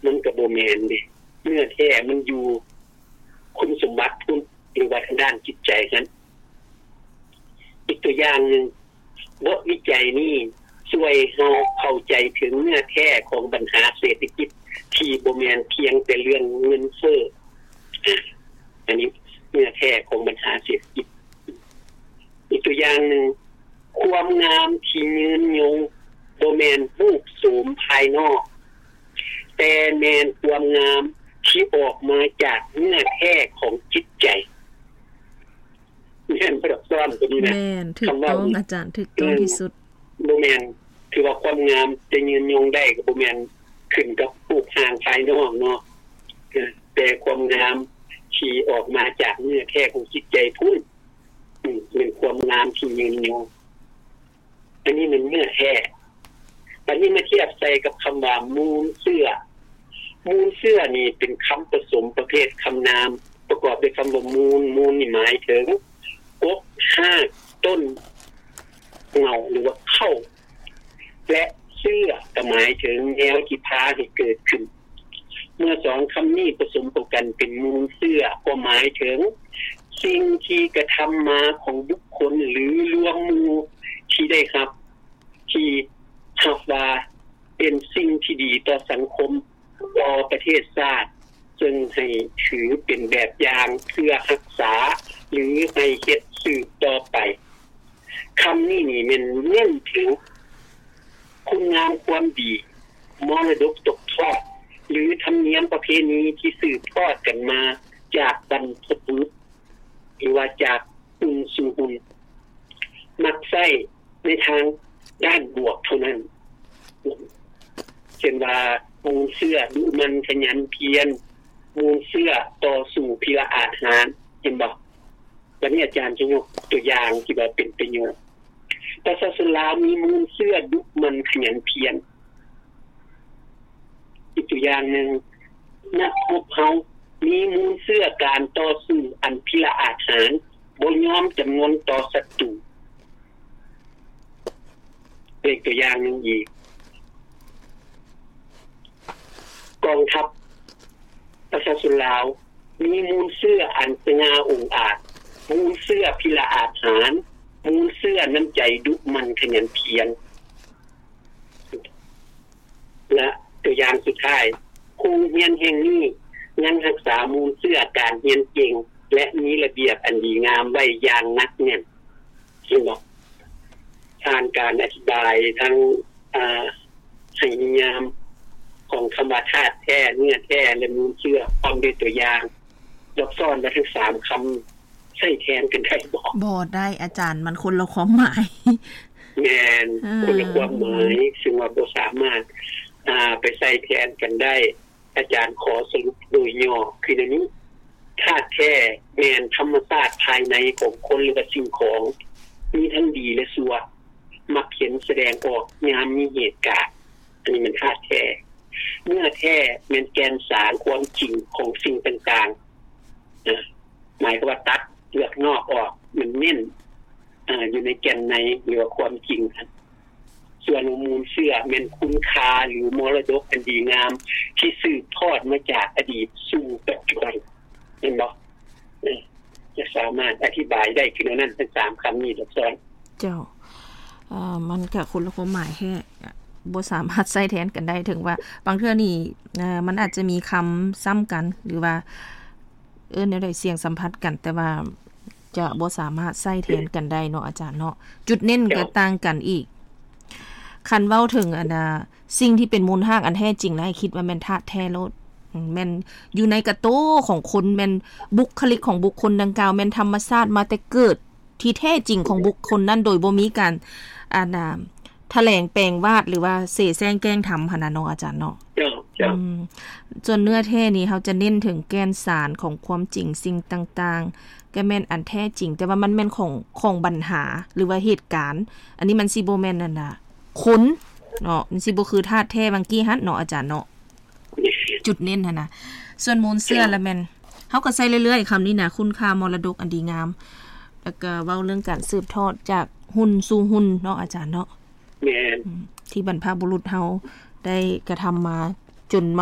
ມັນກໍບໍ່ແມ່ນເດ້. ເນື້ອແທ້ມັນຢູ່ຄຸນສົມບັດພຸ້ນ ຫຼືວ່າທາງດ້ານຈິດໃຈຫັ້ນ. ອີກຕົວຢ່າງໜຶ່ງ, ບົດວິໄຈນີ້ຊ່ວຍເຮົາເຂົ້າໃຈເຖິງເນື້ອແທ້ຂອງບັນຫາເສດຖະກິດ ທີ່ບໍ່ແມ່ນພຽງແຕ່ເລື່ອງເງິນເຟີ້. ອາ ອັນນີ້ເນື້ອແທ້ຂອງບັນຫາເສດຖະກິດ. ອີກຕົວຢ່າງໜຶ່ງ, ຄວາມງາມທີ່ຍືນຍົງບໍ່ແມ່ນຮູບໂສມພາຍນອກ, ແຕ່ແມ່ນຄວາມງາມທີ່ອອກມາຈາກເນື້ອແທ້ຂອງຈິດໃຈ. ແມ່ນບໍ່ດອກ ສອນຕົວນີ້ນະ? ແມ່ນ, ຖືກຕ້ອງ ອາຈານ, ຖືກຕ້ອງທີ່ສຸດ. ບໍ່ແມ່ນ ຄືວ່າຄວາມງາມຈະຍືນຍົງໄດ້ກໍບໍ່ແມ່ນຂຶ້ນກັບຮູບຮ່າງພາຍນອກເນາະ, ເອີ ແຕ່ຄວາມງາມທີ່ອອກມາຈາກເນື້ອແທ້ຂອງຈິດໃຈພຸ້ນ, ອືມ ແມ່ນຄວາມງາມທີ່ຍືນຍົງ. ອັນນີ້ແມ່ນເນື້ອແທ້. ບັດນີ້ມາທຽບໃສ່ກັບຄຳວ່າມູນເຊື້ອ. ມູນເຊື້ອນີ້ເປັນຄຳປະສົມປະເພດຄຳນາມ ປະກອບດ້ວຍຄຳວ່າມູນ. ມູນນີ້ໝາຍເຖິງກົກ, ຮາກ, ຕົ້ນ, ເຫງົ້າ ຫຼືວ່າເຄົ້າ ແລະ ເຊື້ອກໍໝາຍເຖິງແນວທີ່ພາໃຫ້ເກີດຂຶ້ນ. ເມື່ອສອງຄຳນີ້ປະສົມເຂົ້າກັນເປັນມູນເຊື້ອ ກໍໝາຍເຖິງສິ່ງທີ່ກະທຳມາຂອງບຸກຄົນ ຫຼື ລວມໝູ່ທີ່ໄດ້ຮັບ ທີ່ຮັບວ່າເປັນສິ່ງທີ່ດີຕໍ່ສັງຄົມ, ຕໍ່ປະເທດຊາດ, ເຊິ່ງໃຫ້ຖືເປັນແບບຢ່າງເພື່ອຮັກສາ ຫຼື ໃຫ້ເຮັດສືບຕໍ່ໄປ. ຄຳນີ້ນີ້ແມ່ນເນັ້ນເຖິງຄຸນງາມຄວາມດີ, ມໍລະດົກຕົກທອດ ຫຼື ທຳນຽມປະເພນີທີ່ສືບທອດກັນມາຈາກບັນພະບຸລຸດ ຫຼືວ່າຈາກຮຸ່ນສູ່ຮຸ່ນ, ມັກໃຊ້ໃນທາງດ້ານບວກເທົ່ານັ້ນ. ເຊັ່ນວ່າ ມູນເຊື້ອດຸໝັ່ນຂະຫຍັນພຽນ, ມູນເຊື້ອຕໍ່ສູ້ພິລະອາດຫານ, ເຫັນບໍ່? ບັດນີ້ອາຈານຈະຍົກຕົວຢ່າງທີ່ວ່າເປັນປະໂຫຍດ. ປະຊາຊົນລາວມີມູນເຊື້ອດຸໝັ່ນຂະຫຍັນພຽນ. ອີກຕົວຢ່າງໜຶ່ງ, ນັກຮົບເຮົາມີມູນເຊື້ອການຕໍ່ສູ້ອັນພິລະອາດຫານ, ບໍ່ຍອມຈຳນົນຕໍ່ສັດຕູ. ເປັນຕົວຢ່າງໜຶ່ງອີກ, ກອງທັບປະຊາຊົນລາວມີມູນເຊື້ອອັນສະຫງ່າອົງອາດ, ມູນເຊື້ອພິລະອາດຫານ, ມູນເຊື້ອນ້ຳໃຈດຸໝັ່ນຂະຫຍັນພຽນ. ແລະ ຕົວຢ່າງສຸດທ້າຍ, ໂຮງຮຽນແຫ່ງນີ້ຍັງຮັກສາມູນເຊື້ອການຮຽນເກັ່ງ ແລະ ມີລະບຽບອັນດີງາມໄວ້ຢ່າງໜັກແໜ້ນ. ເຫັນບໍ່? ຜ່ານການອະທິບາຍທັງ ອາ ໃຫ້ນິຍາມຂອງຄຳວ່າທາດແທ້, ເນື້ອແທ້ ແລະ ມູນເຊື້ອ ພ້ອມດ້ວຍຕົວຢ່າງ. ດອກ ສອນວ່າທັງສາມຄຳໃຊ້ແທນກັນໄດ້ບໍ່? ບໍ່ໄດ້ອາຈານ, ມັນຄົນລະຄວາມໝາຍ. ແມ່ນ, ເອີ ຄົນລະຄວາມໝາຍ, ຊຶ່ງວ່າບໍ່ສາມາດ ອາ ໄປໃຊ້ແທນກັນໄດ້. ອາຈານຂໍສະຫຼຸບໂດຍຫຍໍ້ຄືແນວນີ້, ທາດແທ້ແມ່ນທຳມະຊາດພາຍໃນຂອງຄົນ ຫຼືວ່າສິ່ງຂອງ, ມີທັງດີ ແລະ ຊົ່ວ, ມັກເຫັນສະແດງອອກຍາມມີເຫດການ. ອັນນີ້ແມ່ນທາດແທ້. ເນື້ອແທ້ແມ່ນແກ່ນສານຄວາມຈິງຂອງສິ່ງຕ່າງໆ ນະ, ໝາຍຄວາມວ່າຕັດເປືອກນອກອອກ, ມັນເນັ້ນ ອາ ຢູ່ໃນແກ່ນໃນ ຫຼືວ່າຄວາມຈິງຫັ້ນ. ສ່ວນມູນເຊື້ອແມ່ນຄຸນຄ່າ ຫຼື ມໍລະດົກອັນດີງາມ ທີ່ສືບທອດມາຈາກອະດີດສູ່ປັດຈຸບັນ. ແມ່ນບໍ່? ເອີ ຈະສາມາດອະທິບາຍໄດ້ຄືແນວນັ້ນ ທັງສາມຄຳນີ້ດອກ ສອນ. ເຈົ້າ. ເອີ ມັນກະຄົນລະຄວາມໝາຍແທ້, ບໍ່ສາມາດໃຊ້ແທນກັນໄດ້. ເຖິງວ່າບາງເທື່ອນີ້ ເອີ ມັນອາດຈະມີຄຳຊ້ຳກັນ ຫຼືວ່າ ເອີ້ນແນວໃດ, ສຽງສຳພັດກັນ, ແຕ່ວ່າຈະບໍ່ສາມາດໃຊ້ແທນກັນໄດ້ເນາະ ອາຈານເນາະ. ຈຸດເນັ້ນກໍຕ່າງກັນອີກ. ຄັນເວົ້າເຖິງອັນນ່າ ສິ່ງທີ່ເປັນມູນຮາກອັນແທ້ຈິງແລ້ວ ໃຫ້ຄິດວ່າແມ່ນທາດແທ້ໂລດ. ອືມ ແມ່ນຢູ່ໃນກະໂຕຂອງຄົນ, ແມ່ນບຸກຄະລິກຂອງບຸກຄົນດັ່ງກ່າວ, ແມ່ນທຳມະຊາດມາແຕ່ເກີດທີ່ແທ້ຈິງຂອງບຸກຄົນນັ້ນ ໂດຍບໍ່ມີການ ອັນນ່າ ຖະແຫຼງແປງວາດ ຫຼືວ່າເສແສ້ງແກ້ງທຳຫັ້ນນະເນາະ ອາຈານເນາະ. ເຈົ້າ, ເຈົ້າ. ອືມ ສ່ວນເນື້ອແທ້ນີ້ ເຮົາຈະເນັ້ນເຖິງແກ່ນສານຂອງຄວາມຈິງສິ່ງຕ່າງໆ, ກໍແມ່ນອັນແທ້ຈິງ, ແຕ່ວ່າມັນແມ່ນຂອງ, ຂອງບັນຫາ ຫຼືວ່າເຫດການ. ອັນນີ້ມັນຊິບໍ່ແມ່ນອັນນ່າ ຄົນເນາະ, ມັນຊິບໍ່ຄືທາດແທ້ຫວ່າງກີ້ຫັ້ນເນາະ ອາຈານເນາະ. ແມ່ນ. ຈຸດເນັ້ນຫັ້ນນະ. ສ່ວນມູນເຊື້ອ ເຈົ້າ ລະແມ່ນ ເຮົາກໍໃຊ້ເລື້ອຍໆຄຳນີ້ນະ, ຄຸນຄ່າມໍລະດົກອັນດີງາມ, ແລ້ວກໍເວົ້າເລື່ອງການສືບທອດຈາກຮຸ່ນສູ່ຮຸ່ນເນາະ ອາຈານເນາະ. ແມ່ນ. ອືມ ທີ່ບັນພະບຸລຸດເຮົາໄດ້ກະທຳມາຈົນມາ